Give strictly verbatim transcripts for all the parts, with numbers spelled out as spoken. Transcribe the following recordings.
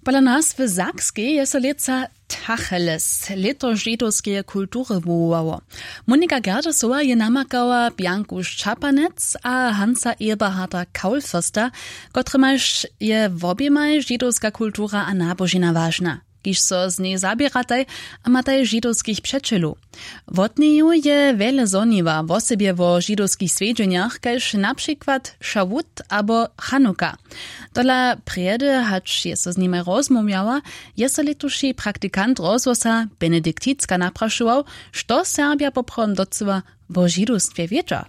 Pola nas w Sakskej je so lětsa Tacheles, lěto židowskeje kultury, wowowało. Monika Gerdesowa je namakała Bjanku Šćapanec a Hansa Eberharda Kaulfürsta, kotrymajž je woběmaj židowska kultura a nabožina wažna, kiž so z njej zaběrataj a mataj židowskich přećelow. Wot njeju je wjele zhoniła, wosebje wo židowskich swjedźenjach, kaž na přikład Šawut abo Chanuka. Tola prjedy, hač je so z nimaj rozmołwjała, je so lětuši praktikant rozhłosa Benedikticka naprašował, što Serbja poprawom docyła wo židowstwje wědźa.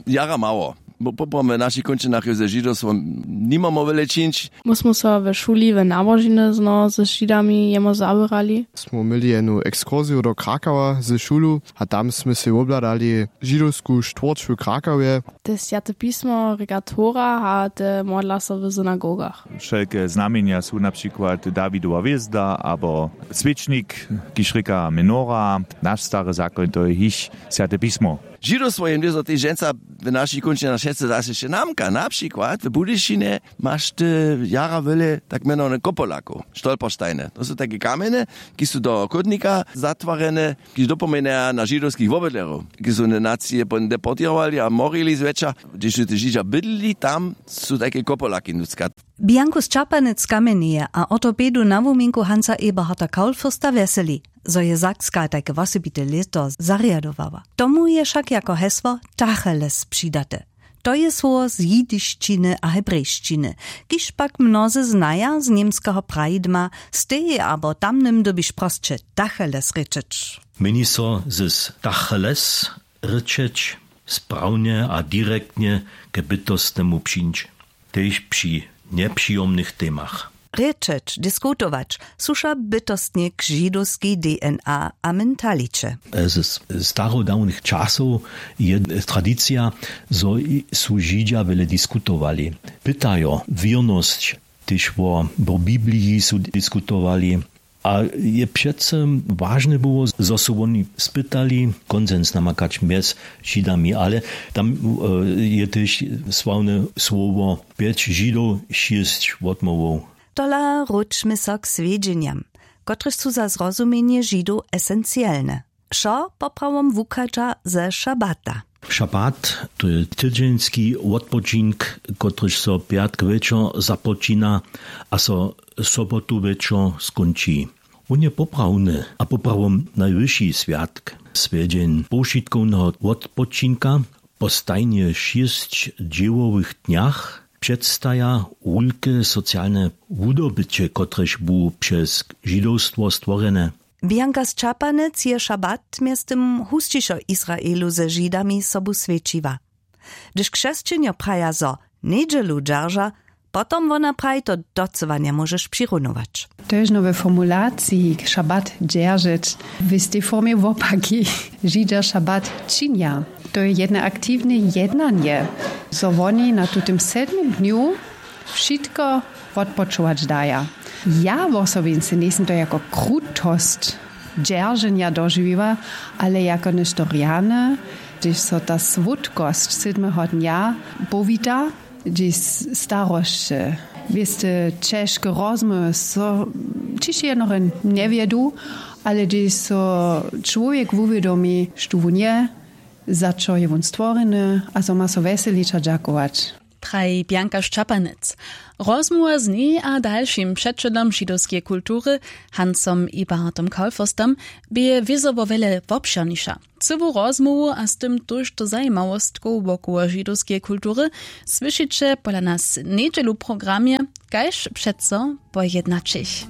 Jara mało. Bo poprawom w našich kónčinach je ze židowstwom nimamo wjele čińć. My smy so we šuli w nabožiny zno ze židami jemo zawěrali. Smy měli jednu ekskursiju do Krakawa ze šulu a tam smy sej wobhladali židowsku štwórć w Krakawje. Te swjate pismo, regatora a te modla so w synagogach. Wšelke znamjenja su na přikład Dawidowa hwězda abo swěčnik, kiž rěka menora. Naš stary zakoń, to je jich swjate pismo. Židowstwo je mjez tež dźensa w našich kónčinach wšetcy zaso hišće namka. Na přikład w Budyšinje maš ty jara wjele tak mjenowany kopolakow, stolpersteine. To su tajke kamjene, ki su do chódnika zatwarjene, kiž dopomnjeja na židowskich wobydlerjow, ki su ne nacije potom deportěrowali a morili zwjetša. Hdźež su te židźa bydlili, tam su tajke kopolaki nutřka. Bjanku Šćapanec kamjenje a ortopedu na wuminku Hansa Eberharda Kaulfürsta wjeseli, zo je Sakska tajke wosebite lěto zarjadowała. Tomu je wšak jako hesło Tacheles přidate. To je słowo z jidišćiny a hebrejšćiny, kiž pak mnozy znaja z němskeho praidma, stej abo tamnym dyrbiš prosće Tacheles rěčeć. Měni so z Tacheles rěčeć sprawnje a direktnje k bytostnemu přińć, tež při njepřijomnych temach. Rěčeć, diskutować, słuša bytostnje k židowskej D N A a mentaliće. Z starodawnych časow je tradicija, zo su židźa wjele diskutowali. Pytajo wěrnosć, tež wo, wo Bibliji su diskutowali. A je přeco wažne było, zo su woni spytali konsens namakać mjez židami, ale tam je tež sławne słowo pjeć židow, šěsć wotmołwow. Tola wróćmy so k swjedźenjam, kotrež su za zrozumjenje židow esencielne. Wšo poprawom wuchadźa ze šabata. Šabat, to je tydźeński wotpočink, kotryž so pjatk wječor započina a so sobotu wječor skónči. Wón je poprawny a poprawom najwyši swjatk, swjedźeń powšitkowneho wotpočinka. Po stajnje šěsć dźěłowych dnjach předstaja wulke socialne wudobyće, kotrež bu přez židowstwo stworjene. Bjanka Sćapanec je šabat mjeztym husćišo w Israelu ze židami sobu swjećiła. Hdyž křesćenjo praja zo njedźelu dźerža, potom wona praji to docyła njemóžeš přirunować. To je žno we formulaciji šabat dźeržeć w tej formje wopaki. Židźa šabat činja. To je jedne aktiwne jednanje, zo woni na tutym sedmim dnju wšitko wotpočować daja. Ja wosobince njejsym to jako krutosć dźerženja dožiwiła, ale jako něšto rjane, hdyž so ta słódkosć sydmeho dnja powita, hdyž starosće, wěste, ćežke rozmołwy so ćiž jednore njewjedu, ale hdyž so čłowjek wuwědomi, štó wón je, za čo je wón stworjeny a zo ma so wjeselić a dźakować. Praji Bjanka Šćapanec. Rozmołwa z njej a dalšim předšedom židowskeje kultury, Hansom Eberhardom Kaulfürstom, bě wězo wo wjele wobšěrniša. Cyłu rozmołwu a z tym tójšto zajimawostkow wokoło židowskeje kultury słyšiće pola nas njedźelu w programje, kaž přeco po jednaćich.